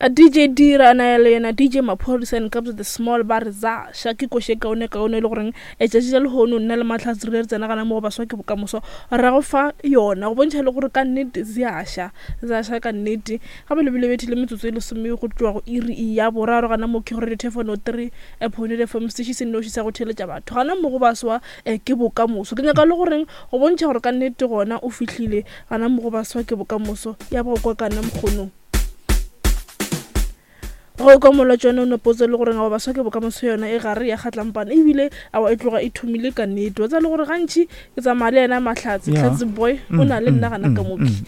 A DJ Dira a na le yena DJ Maphodisa and Kabza the Small ba re za ša ke koše kaone kaone e le goreng letšatši la lehono nna le Mahlatse re ile re tsena gana mo go baswa ke bokamoso ra go fa yona go bontšha le gore ka nnete ze a ša ze a ša ka nnete gape le bile bethile metsotso e lesome go tšwa go iri ya boraro gana mo ke go radio thefo 3 point fm sešhi se nnoši sa go theeletša batho gana mo go baswa ke bokamoso ke nyaka le goreng go bontšha gore ka nnete gona o fihlile gana mo go baswa ke bokamoso ya ba go kwa kana mokgonong Go kwa molwetši wa nonopotso le gore awa baswa ke bokamoso yona e gare ya kgatlampana ebile awa e tloga e thomile ka nnete wa tseba le gore gantši ke tsamaya le yena Mahlatse Yeah. Hlatse boy o na le nna gana ka moki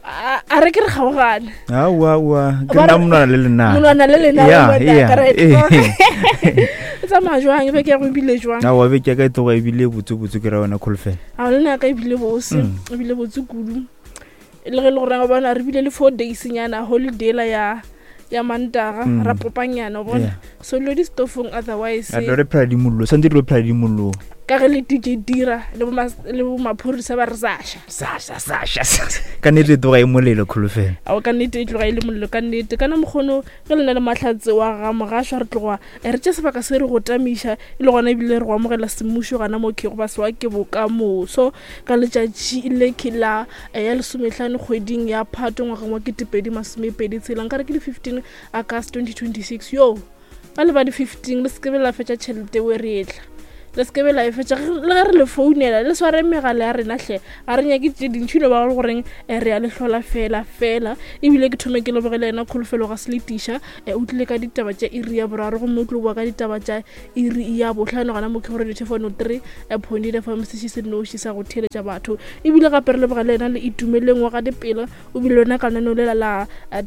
a a re ke re kgaogane aowa aowa ke Ba re- nna monwana le lenana monwana le lena Yeah, le yeah, correct. eh. E tsamaya jwang e be ke ya go ebile jwang aowa beke ya ka e tloga ebile botsebotse ke ra wena kholofelo a le nna ka ebile bose ebile botse kudu le ge e le gore wa bona re bile le four days nyana holiday la ya ya mantaga mm. ra popanyana o bona yeah. so dilo di stofong otherwise re phela di mollo santse re phela di mollo ka ge le dj dira le bo maphorisa ba re sasha sasha sasha ka nnete e tloga e molelo kholofelo ao ka nnete e tloga e le molelo ka nnete kana mokgono ge le na le mahlatse wa ga mogašwa re tloga eh, re tše sebaka se re go tamiša e le gona ebile re go amogela semmušo gana mo ke go ba sewa ke bokamoso ka letšatši le ke la eh, ya lesometlhano kgweding ya phato ngwageng wa ketepedi masomepedi tshela nkare ke di-15 august 2026 yo ba le ba di-15 le sekebe la fetša tšhelete o e re etla le se ke be la e fetša le ge re le founela le sware megala ya rena hle ga re nyake tše dintšhi no ba le goreng eh, re ya le hlola fela fela ebile ke thome ke lebogele yena kholofelo ga se le tiša eh, o tlile ka ditaba tša iri ya boraro gomme o tlo boa ka ditaba tša iri ya bohlano gona mo ke gore dithefano 3 eh, point eight fm seši se noši sa go theeletša batho ebile gape re lebogele yena le itumeleng wa ga dipela o bile lona ka lenaneo lela la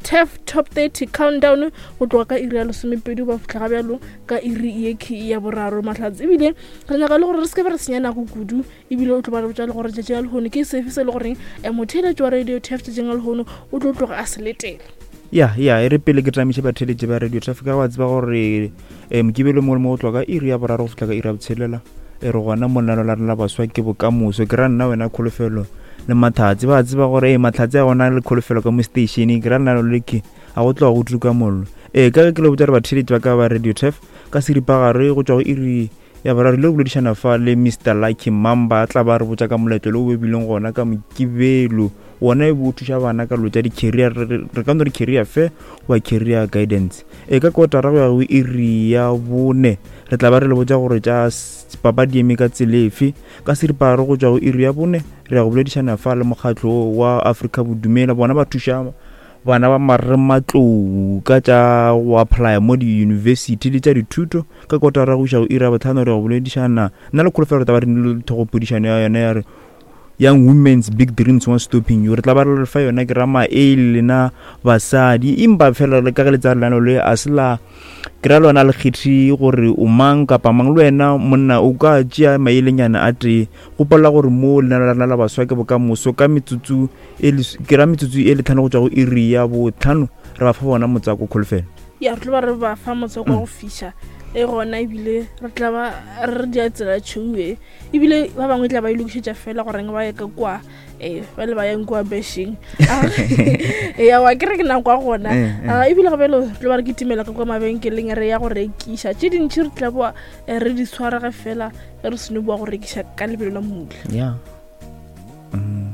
tef top 30 countdown go tloga ka iri ya lesomepedi ba fitlha ga bjalo ka iri ye key ya boraro mahlatse ebile re nyaka le gore re se ke be re senya nako kudu ebile o tlo ba re botša le gore tšatši la lehono ke sefe se e le goreng eh, motheeletši wa radio tef tšatšing la lehono o tlo tloga a se letela ya ya e re pele ke tamiše batheeletši ba radio traffic wa tseba gore um mokibelo mongwe le mongwe go tloga ka iri ya boraro go fihla ka iri ya botshelela e re gona monano la rena la baswa ke bokamoso ke ra nna wena kholofelo le matlhatse ba tseba gore ee matlhatse a gona le kholofelo ka mo stationeng ke ra nna le ke a go tloga go tuka mollo ee ka ge ke le botsa gore batheeletši ba ka ba radio tef ka seripagare go tšwa go iri ya boraro le go boledišana fa le mr lucky mamba a tla ba re botša ka moletlo le o bebileng gona ka mokibelo wona e bo o thuša bana ka dilo tša di-career re ka no re career fair goba career guidance e ka kotara go ya go iri ya bone re tla ba re le botša gore tša papadi eme ka tselefe ka seripagare go tšwa go iri ya bone re ya go boledišana fa le mokgatlo wa afrika bodumela bona ba thuša bana ba marematlou ka tša go applya mo diyunibesithi le tša dithuto ka kotara go iša go iri ya botlhano re go boledišana nna le kholofelo re tla ba re nile thogopodišano ya yona ya re young women's big dreams won't stopping you re tla ba re fa yona ke ra maele lena basadi empa fela le ka ge le tsaya lenano le a se la ke ra lona le kgethe gore o mang kapa mang le wena monna o ka tšea maelenyana a tee gopola gore mo lenano la rena la baswa ke bokamoso ka metsotso e ke ra metsotso e letlhano go tšwa go iri ya botlhano re ba fa bona motswako kholofelo ya re tlo ba re ba fa motswako wa go fiša e gona ebile re tla ba re dia tsela tšhou e ebile ba bangwe tla ba e lokišetša fela goreng ba ye ka kwa um ba le ba yang kua bešeng ya wa ke re ke nako ya gona eh, eh. Ah, ebile gape le tlo ba re kitimela ka kwa mabenkeleng re ya go rekiša tše dintšhi re tla boa eh, re di tshwarege fela ge re seno boa go rekiša ka lebelo la mmutla yeah. Mm.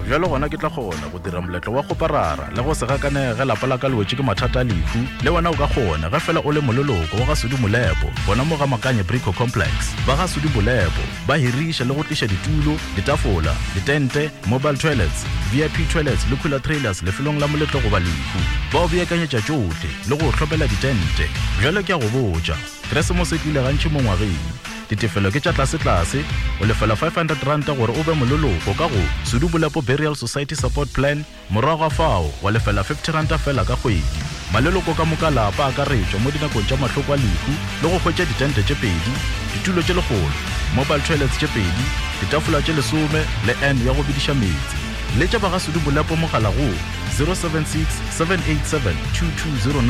Bjalo gona ke tla kgona go dira moletlo wa kgoparara le go se gakanege ge lapa la ka le wetše ke mathata a lehu. Le wena o ka kgona ge fela o le moleloko wa ga Sudi Molepo gona mo ga Makanye Brico Complex. Ba ga Sudi Molepo ba hiriša le go tliša ditulo, ditafola, ditente, mobile toilets, VIP toilets le cooler trailers lefelong la moletlo goba lehu. Ba o beakanyetša tšohle le go o hlomela ditente. Bjalo ke a go botša, Keresemose e tlile gantši mo ngwageng. Ditefelo ke tša tlasetlase, o lefela R500 gore o be moleloko ka go Sudu Bolepo Burial Society Support Plan, morago ga fao wa lefela R50 feela ka kgwedi. Maleloko ka moka a lapa a akaretšwa mo dinakong tša mahloko a lehu le go hwetša ditente tše pedi, ditulo tše lekgolo, mobile toilets tše pedi, ditafola tše lesome le urn ya go bediša meetse. Letša ba ga Sudu Bolepo mogala go 076 787 2209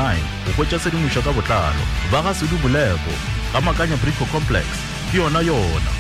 go hwetša tshedimošo ka botlalo. Ba ga Sudu Bolepo. Ga Makanya Brico Complex, ke yona yona.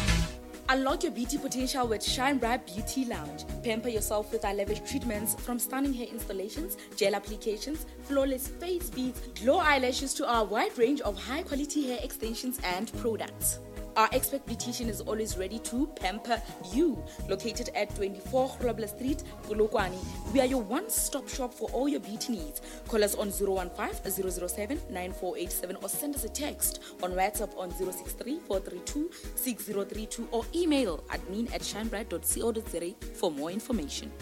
Unlock your beauty potential with Shine Bright Beauty Lounge. Pamper yourself with our lavish treatments from stunning hair installations, gel applications, flawless face beads, glow eyelashes to our wide range of high quality hair extensions and products. Our expert beautician is always ready to pamper you. Located at 24 Grobler Street, Polokwane, we are your one-stop shop for all your beauty needs. Call us on 015 007 9487 or send us a text on WhatsApp on 063 432 6032 or email admin at shinebright.co.za for more information.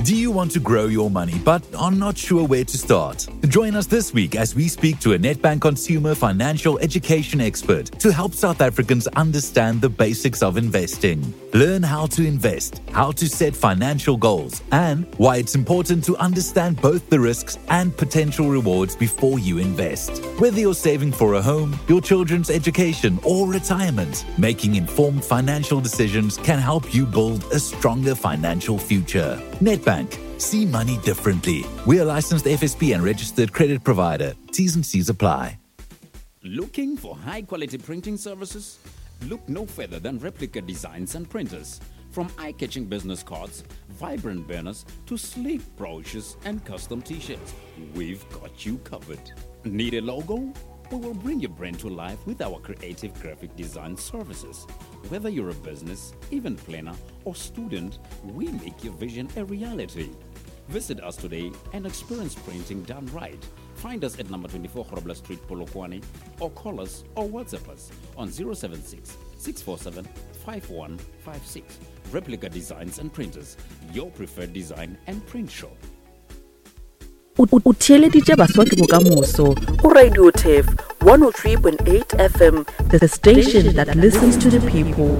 Do you want to grow your money but are not sure where to start? Join us this week as we speak to a Nedbank consumer financial education expert to help South Africans understand the basics of investing. Learn how to invest, how to set financial goals, and why it's important to understand both the risks and potential rewards before you invest. Whether you're saving for a home, your children's education, or retirement, making informed financial decisions can help you build a stronger financial future. Nedbank. See money differently. We are licensed FSP and registered credit provider. T's and C's apply. Looking for high quality printing services? Look no further than Replica Designs and Printers. From eye catching business cards, vibrant banners, to sleek brochures and custom t shirts, we've got you covered. Need a logo? We will bring your brand to life with our creative graphic design services. Whether you're a business, event planner, or student, we make your vision a reality. Visit us today and experience printing done right. Find us at number 24 Grobler Street, Polokwane, or call us or WhatsApp us on 076 647 5156. Replica Designs and Printers, your preferred design and print shop. O theeleditše Baswa ke Bokamoso go Radio Turf 103.8 FM, the station that listens to the people.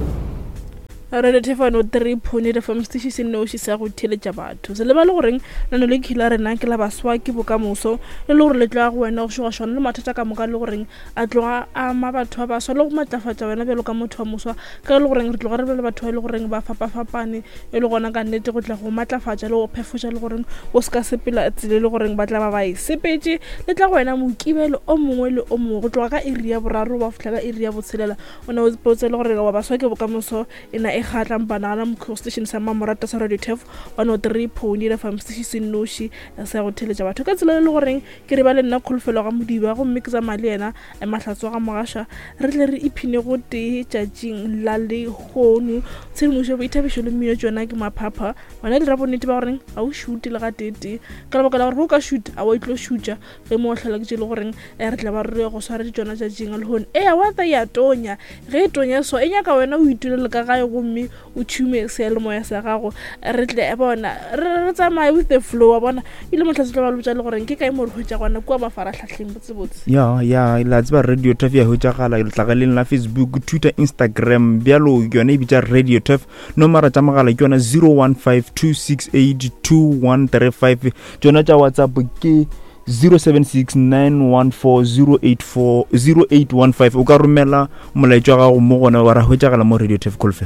Radio Thefano 3.8 FM setiši se nnoši sa go theeletša batho. Se lebale goreng nano le khila rena ke la baswa ke bokamoso le le gore le tloga go wena go šogašwana le mathata ka moka le goreng a tloga a ama batho ba baswa le go matlafatša wena bjalo ka motho wa moswa ka e le goreng re tloga re be le batho ba e le goreng ba fapafapane e le gona ka nnete go tla go matlafatša le go phefoša le goreng o se ka sepela tsela e le goreng ba tla ba ba e sepetše le tla go wena mokibelo o mongwe le o mongwe go tloga ka iri ya boraro ba fihla ka iri ya botshelela o ne o potse le gore wa baswa ke bokamoso e na e kgatlang banana mokgo station sa mmamorata sa radio tef 103.8 fm station se nnoši sa go theletša batho ka tsela e le goreng Ke re ba le nna Kholofelo ga Modiba gomme ke tsamaya le yena Mahlatso ga Mogaša re tle re iphine go tee tšatšing la lehono. Tshedimošo, boithabišo le mmino tšona ke maphapha. Wena dira bonnete ba goreng ga o šute le gateetee ka lebaka la gore ge o ka šuta a wa itlo šutša ge mo hlola ke tše le goreng re tla ba re go swaretše tšona tšatšing la lehono. Ea wa tla ya tonya ge e tonya so e nyaka wena o itulele ka gae gomme o tšhume seyalemoya sa gago re tle bona re tsamaye with the flow wa bona ile motlha se tlo ba botša le goreng ke kae mo re hwetša gona kua mafaratlhatlheng botsebotse ya ya la tseba radio turf ya hwetšagala letlakaleng la facebook twitter instagram bjalo yone e bitša radio turf nomara tša mogala ke yona 0152682135 tšona tša whatsapp ke 0769140815 o ka romela molaetša wa gago mo gona wa ra hwetšagala mo radio tef colfe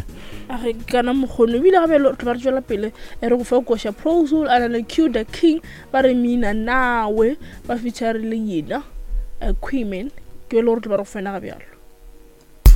a re kana mokgono ebile gape re ba re tswela pele e re go fa koša prosol a na le q the king ba re mina nawe ba feature le yena eh, queeman ke le gore tlo ba re go fena ga bjalo.